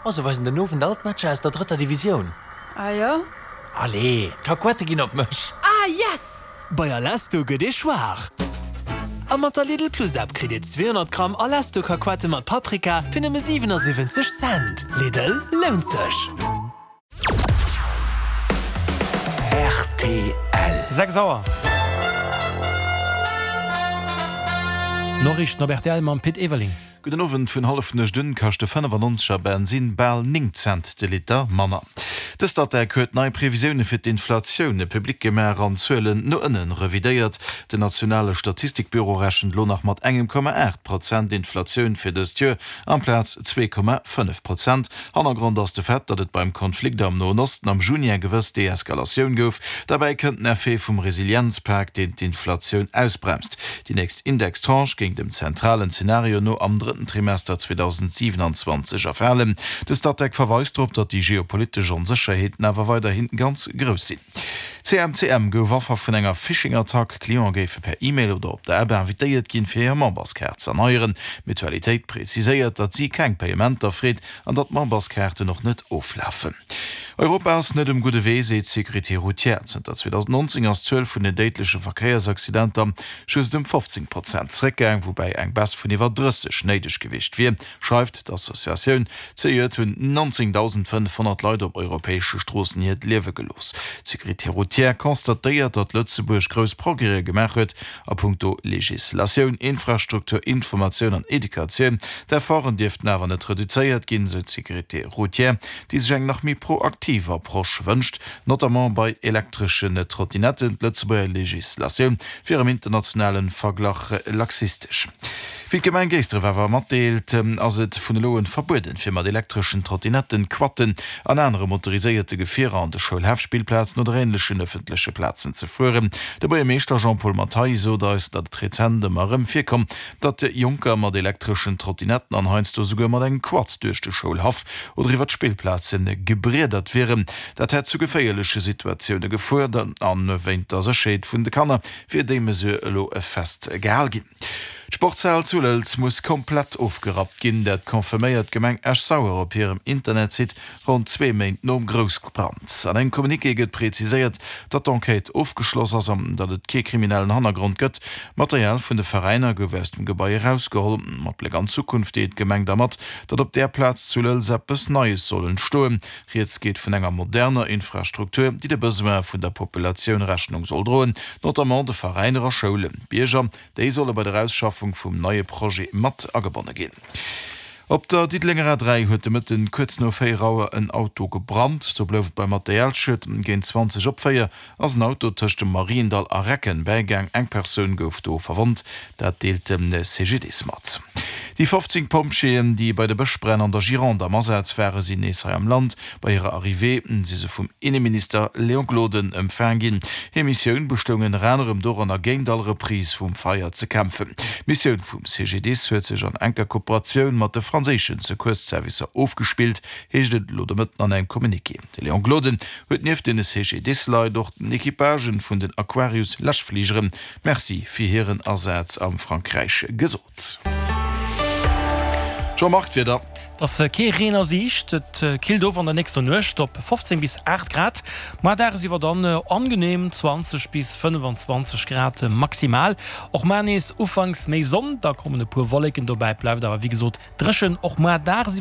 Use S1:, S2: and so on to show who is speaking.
S1: Oh, se weisen den Owend all d'Matcher aus der drëtter Divisioun.
S2: Ah jo?
S1: Allez, d'Kakuette ginn op mech!
S2: Ah yes!
S3: Bei Alesto gëtt ee schwaach! A mat der Lidl Plus App kritt Dir 200 Gramm Alesto Kakuette mat Paprika fir nëmme 77 Cent. Lidl, lount sech!
S4: Rtl.
S5: 6 Auer. Noriichten op rtl mam Pit Everling.
S6: Gudden Owend. Vun Hallefnuecht un kascht de 95 er Bensin bal 9 Cent de Liter manner. De Statec huet nei Previsioune fir d'Inflatioun public gemaach an d'Zuelen no ënne revidéiert. Den nationale Statistikbüro rechent elo nach mat engem Komma 8 Prozent Inflatioun fir dëst Joer, amplaz 2,5 Prozent. Hannergrond ass de Fait, datt et beim Konflikt am Noen Osten am Juni eng gewëss Deeskalatioun gouf. Derbäi kënnt den Effet vum Resilienzpak, deen d'Inflatioun ausbremst. Déi nächst Indextranche géing dem zentralen Zenario no am drëtten Trimester 2027 erfalen. De Statec verweist drop, datt déi geopolitesch Onsécherheeten awer weiderhi ganz grouss sinn. CMCM gouf Affer vun enger Phishing-Attack. Cliente géife per E-Mail oder op der App invitéiert ginn, fir hir Memberskaart z'erneieren. D'Mutualitéit preziséiert, datt si keng Payementer freet an datt d'Memberskaarten och net oflafen. Europa ass net um gudde Wee, seet d'Sécurité routière. Zënter 2019 ass d'Zuel vun den déidleche Verkéiersaccidenter just ëm 15 Prozent zeréckgaang, woubäi eng Baisse vun iwwer 30 néideg gewiescht wier. Schreift d'Associatioun. Zejoert hunn 19.500 Leit op europäesche Stroossen hiert Liewe gelooss. D'Sécurité routière constatéiert, datt Lëtzebuerg grouss Progrèse gemaach huet a punkto Legislatioun, Infrastruktur, Informatioun an Educatioun. D'Efforten dierften awer net reduzéiert ginn, sou d'Sécurité routière, déi sech eng nach méi proaktiv Approche wënscht, notamment bei elektreschen Trottinetten. D'Lëtzebuerger Legislatioun wier am internationale Verglach laxistesch. Wéi d'Gemeng Géisdref awer matdeelt, ass et vun elo un verbueden, fir mat elektreschen Trottinetten, Quatten an anere motoriséierte Gefierer an de Schoulhäff, Spillplazen oder änlechen ëffentleche Plazen ze fueren. De Buergermeeschter Jean-Paul Mathay sot eis, datt et rezent ëmmer erëm virkomm, datt Jonker mat elektreschen Trottinetten an heiansdo souguer mat engem Quad duerch de Schoulhaff oder iwwer d'Spillplaze gebriedert wieren. Dat hätt zu geféierleche Situatioune gefuert a wéint der Sécherheet vun de Kanner wier déi Mesure elo festgehal ginn. D'Sportshal zu Lëlz muss komplett ofgerappt ginn. Dat confirméiert d'Gemeng Esch-Sauer op hirem Internetsite ronn zwee Méint nom Groussbrand. An engem Communiqué gëtt preziséiert, datt d'Enquête ofgeschloss ass an datt et kee kriminellen Hannergrond gëtt. Material vun de Veräiner gouf aus dem Gebai erausgeholl. Mat Bléck an d'Zukunft deelt d'Gemeng da mat, datt op där Plaz zu Lëlz eppes Neies soll entstoen. Rieds geet vun enger moderner Infrastruktur, déi de Besoine vun der Populatioun Rechnung soll droen, notamment de Veräiner a Schoulen. D'Bierger, déi solle bei der Ausschaffung vum neie Projet mat agebonne ginn. Op der Diddelenger A3 huet de Mëtten kuerz no 4 Auer en Auto gebrannt. Do blouf et beim Materialschued. Géint 20 op 4 ass en Auto tëscht dem Mariendall a Recken bäigaang. Eng Persoun gouf do verwonnt, dat deelt de CGDIS mat. Déi 15 Pompjeeën, déi bei de Bëschbränn an der Gironde am Asaz waren, sinn nees hei am Land. Bei hirer Arrivée si se vum Inneminister Léon Gloden empfaang ginn. Hir Missioun bestoung ënner anerem doranner, géint all Reprise vum Feier ze kämpfen. D'Missioun vum CGDIS huet sech an enker Kooperatioun mat de franséischen Secours-Servicer ofgespillt, heescht et elo de Mëtten an engem Communiqué. De Léon Gloden huet nieft den CGDIS-Leit och den Equipagen vun den Aquarius-Läschfligeren Merci fir hiren Asaz am Frankräich gesot. Jean-Marc, d'Wieder.
S5: Et ass kee Reen a Siicht, et killt of an der nächster Nuecht op 15 bis 8 Grad, mar dagesiwwer dann angenehm 20 bis 25 Grad maximal. Och mar nees ufanks méi Sonn, da kommen e puer Wolleken dobäi, et bleift awer wéi gesot dréchen, och mar dagesiwwer.